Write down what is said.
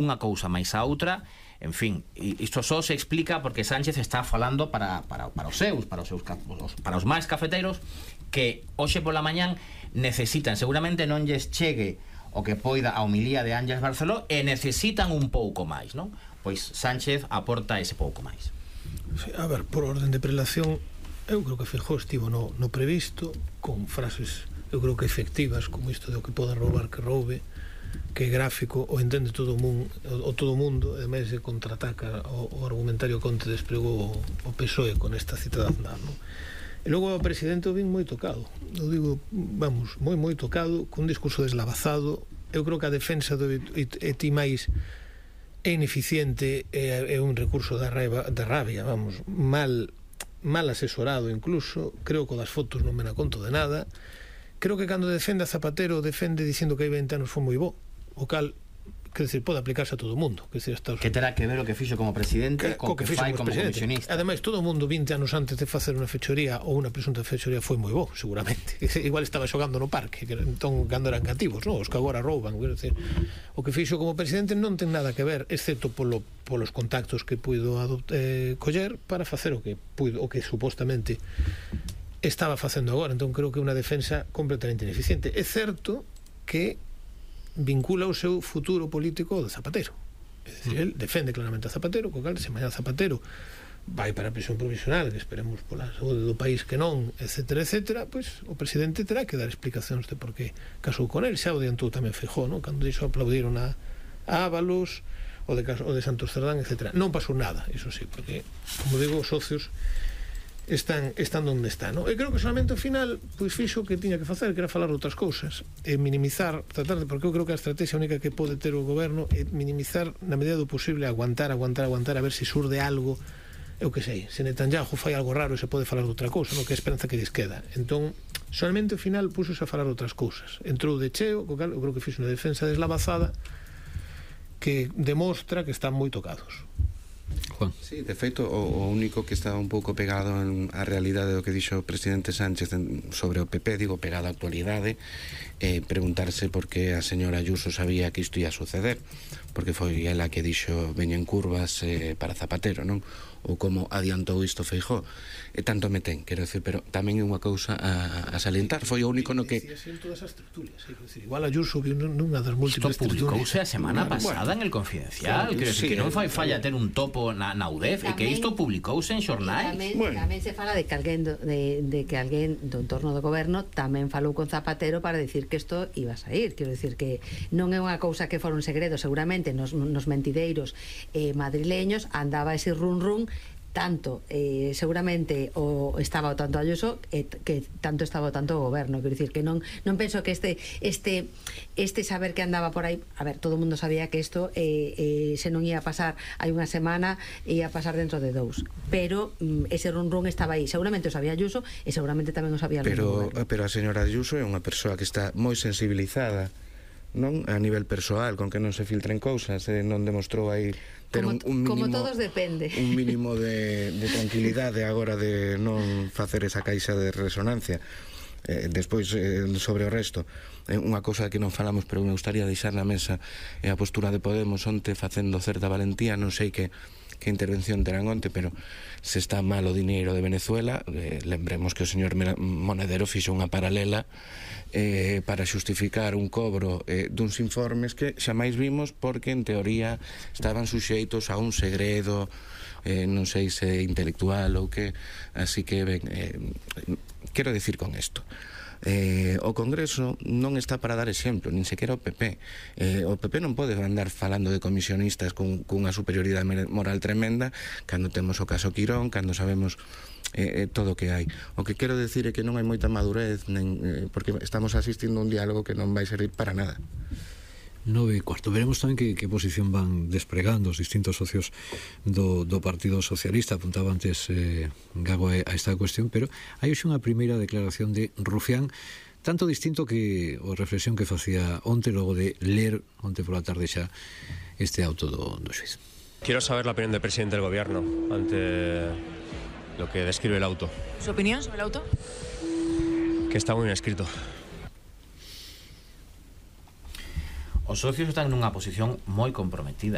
unha cousa máis a outra. En fin, isto só se explica porque Sánchez está falando para os máis cafeteiros que hoxe pola mañán necesitan, seguramente non lles chegue o que poida a homilía de Ángeles Barceló e necesitan un pouco máis, non? Pois Sánchez aporta ese pouco máis. Sí, a ver, por orden de prelación, eu creo que Feijóo estivo no previsto, con frases, eu creo que efectivas, como isto de o que poda roubar que roube, que é gráfico, o entende todo o mundo, e máis se contraataca o argumentario que onte desplegou o PSOE con esta cita de Aznar, non? E logo o presidente o vin moi tocado, eu digo, vamos, moi tocado, cun discurso deslavazado. Eu creo que a defensa do Etimais é ineficiente, é un recurso de rabia, vamos, mal asesorado incluso. Creo que o das fotos non me na conto de nada. Creo que cando defende a Zapatero defende dicindo que hai 20 anos foi moi bo, o cal, quer dizer, pode aplicarse a todo o mundo. Que terá que ver o que fixo como presidente co que fai como comisionista. Ademais, todo o mundo 20 anos antes de facer unha fechoría ou unha presunta fechoría foi moi bo, seguramente. Igual estaba xogando no parque, que entón cando eran cativos, non? Os que agora rouban. Quer dizer, o que fixo como presidente non ten nada que ver, excepto polos contactos que puido coller para facer o que supostamente estaba facendo agora. Entón creo que é unha defensa completamente ineficiente. É certo que vincula o seu futuro político ao de Zapatero. É dicir, el defende claramente a Zapatero, co cal se mañá Zapatero vai para a prisión provisional, que esperemos pola saúde do país que non, etcétera, etcétera, pois o presidente terá que dar explicacións de por que casou con el. Xa o adiantou tamén Feijóo, non? Cando dixo aplaudiron a Ábalos, o de Santos Cerdán, etcétera. Non pasou nada, iso sí, porque, como digo, os socios están onde están, non? E creo que solamente ao final pois fixo o que tiña que facer, que era falar de outras cousas e minimizar, tratar de, porque eu creo que a estrategia única que pode ter o goberno é minimizar na medida do posible, aguantar a ver se surde algo. Eu que sei, se Netanyahu fai algo raro se pode falar de outra cousa, non? Que é a esperanza que lles queda. Entón, solamente ao final puxos a falar de outras cousas, entrou de cheo, co cal eu creo que fixo unha defensa deslavazada que demostra que están moi tocados. Juan. Sí, de feito, o único que está un pouco pegado á realidade do que dixo o presidente Sánchez sobre o PP, digo, pegado á actualidade, preguntarse por que a señora Ayuso sabía que isto ia suceder, porque foi ela que dixo veñen curvas para Zapatero, non? Ou como adiantou isto Feijóo. E tanto me ten, quero decir, pero tamén é unha cousa a salientar. Foi o único no que... Igual Ayuso viu nunha das múltiples tertulias. Isto publicouse a semana pasada en El Confidencial, quero decir, que non fai falla ter un topo na UDEF, e que isto publicouse en xornais. Tamén se fala de que alguén do entorno do goberno tamén falou con Zapatero para decir que isto iba a sair. Quero decir que non é unha cousa que fora un segredo, seguramente nos mentideiros madrileños andaba ese run tanto seguramente estaba o tanto Ayuso que tanto estaba o tanto o goberno. Quero dicir que non penso que este saber que andaba por aí, a ver, todo o mundo sabía que isto se non ia a pasar hai unha semana, ia a pasar dentro de 2, pero ese run estaba aí, seguramente o sabía Ayuso e seguramente tamén o sabía o goberno. Pero a señora Ayuso é unha persoa que está moi sensibilizada, non, a nivel persoal, con que non se filtren cousas, non demostrou aí ter un mínimo, como todos depende, un mínimo de tranquilidade agora de non facer esa caixa de resonancia. Despois sobre o resto, unha cousa que non falamos pero me gustaría deixar na mesa é a postura de Podemos onte facendo certa valentía. Non sei que intervención terán onte, pero se está mal o dineiro de Venezuela, lembremos que o señor Monedero fixo unha paralela para xustificar un cobro duns informes que xa máis vimos porque en teoría estaban suxeitos a un segredo, non sei se intelectual ou que, así que quero dicir con isto, o Congreso non está para dar exemplo, nin sequera o PP. O PP non pode andar falando de comisionistas cunha superioridade moral tremenda cando temos o caso Quirón, cando sabemos todo o que hai. O que quero decir é que non hai moita madurez, porque estamos asistindo a un diálogo que non vai servir para nada. 9:15. Veremos tamén que posición van despregando os distintos socios do Partido Socialista. Apuntaba antes Gago a esta cuestión, pero hai hoxe unha primeira declaración de Rufián, tanto distinto que a reflexión que facía onte logo de ler onte pola tarde xa este auto do xuiz. Quiero saber la opinión del presidente del gobierno ante lo que describe el auto. ¿Su opinión sobre el auto? Que está muy bien escrito. Os socios están nunha posición moi comprometida.